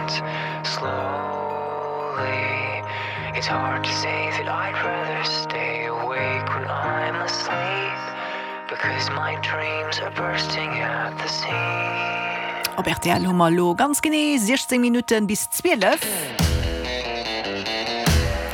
ends slowly. It's hard to say that I'd rather stay awake when I'm asleep because my dreams are bursting at the seams. Op rtl hu mer elo ganz genee 16 Minutten bis 12.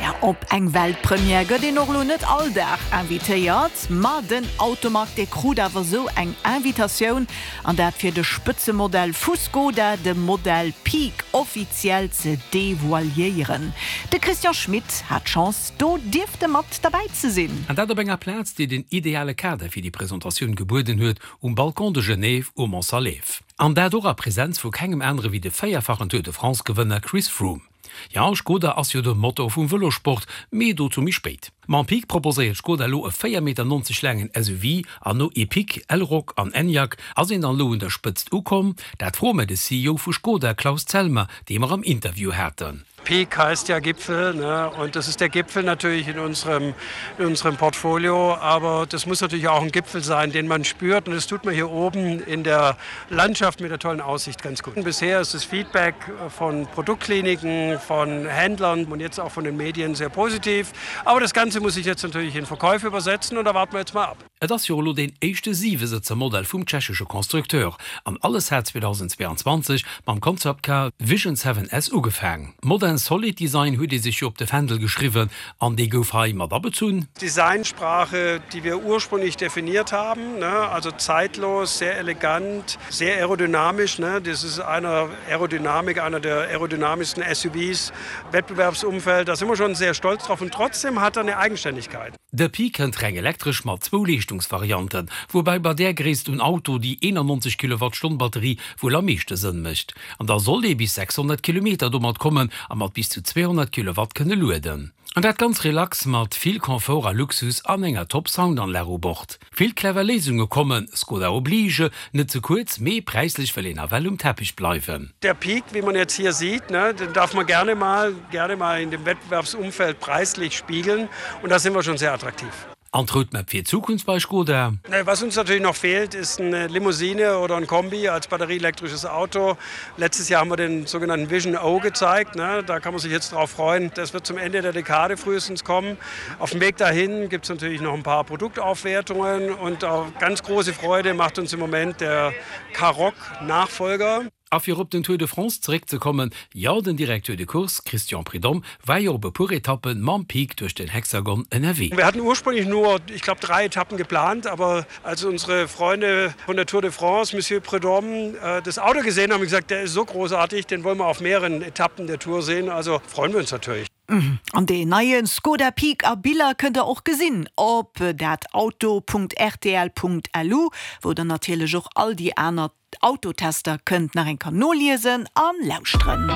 Ja, op eng Weltpremière gëtt een och elo net all Dag invitéiert, ma den Automag dee krut awer esou eng Invitatioun An dat fir de Spëtzemodell vu Skoda, de Modell Peak, offiziell ze devoiliéieren. De Christian Schmit hat d'Chance, do dierfte mat derbäi ze sinn. An dat op enger Plaz, déi den ideale Kader fir déi Presentatioun gebueden huet, um Balcon de Genève um Mont Salève. An dat och a Presenz vu kengem anere wéi de véierfachen Tour de France-Gewënner Chris Froome. Jo, Skoda ass jo de Motor vum Vëlosport, mee dozou méi spéit. Mam Peak proposéiert Skoda elo e 4,90 Meter laangen SUV an no Epiq, Elroq an Enyaq ass een dann elo un der Spëtzt ukomm? Dat froe mer de CEO vu Skoda, Klaus Zellmer, dee mer am Interview haten. Peak heißt ja Gipfel, ne? Und das ist der Gipfel natürlich in unserem, in unserem Portfolio, aber das muss natürlich auch ein Gipfel sein, den man spürt und das tut man hier oben in der Landschaft mit der tollen Aussicht ganz gut. Bisher ist das Feedback von Produktkliniken, von Händlern und jetzt auch von den Medien sehr positiv. Aber das Ganze muss sich jetzt natürlich in Verkäufe übersetzen und da warten wir jetzt mal ab. Et ass jo elo deen éischte Siwesëtzer-Modell vum tschechesche Constructeur an alles hat 2022 mam Concept Car Vision 7S ugefaang. Modern Solid Design huet ee sech jo op de Fändel geschriwwen an dee gouf hei mat abezunn. Designsprache, die wir ursprünglich definiert haben, ne, also zeitlos, sehr elegant, sehr aerodynamisch, ne, das ist einer Aerodynamik, einer der aerodynamischsten SUVs, Wettbewerbsumfeld, da sind wir schon sehr stolz drauf und trotzdem hat er eine Eigenständigkeit. De Pi kënnt reng elektresch mat zwou Leeschtungsvarianten, woubäi bei där Gréisst un Auto déi 91 Kilowattstonn Batterie wuel am meeschte Sënn mécht. An da sollt ee bis 600 Kilometer domat kommen a mat bis zu 200 Kilowatt kënne lueden. An dat ganz relax mat vill Confort a Luxus an enger top Soundanlag u Bord. Vill clever Léisunge kommen, Skoda oblige, net ze kuerz, mee präislech wëll een nawell um Teppich bleiwen. Der Peak, wie man jetzt hier sieht, ne, den darf man gerne mal, gerne mal in dem Wettbewerbsumfeld preislich spiegeln und da sind wir schon sehr attraktiv. An d'Roadmap fir d'Zukunft bei Skoda? Was uns natürlich noch fehlt, ist eine Limousine oder ein Kombi als batterieelektrisches Auto. Letztes Jahr haben wir den sogenannten Vision O gezeigt, ne, da kann man sich jetzt drauf freuen. Das wird zum Ende der Dekade frühestens kommen. Auf dem Weg dahin gibt es natürlich noch ein paar Produktaufwertungen und auch ganz große Freude macht uns im Moment der Karoq Nachfolger. A fir op den Tour de France zeréckzekommen, jo, den Directeur de Course Christian Prudhomme war jo op e puer Etappen mam Peak duerch den Hexagon ënnerwee. Wir hatten ursprünglich nur, ich glaube, drei Etappen geplant, aber als unsere Freunde von der Tour de France, Monsieur Prudhomme, das Auto gesehen haben, haben gesagt, der ist so großartig, den wollen wir auf mehreren Etappen der Tour sehen, also freuen wir uns natürlich. An deen neie Skoda Peak a Biller kënnt der och gesinn op datauto.rtl.lu, wou der natierlech och all déi aner Autotester kënnt nach eng Kéier noliesen a lauschteren.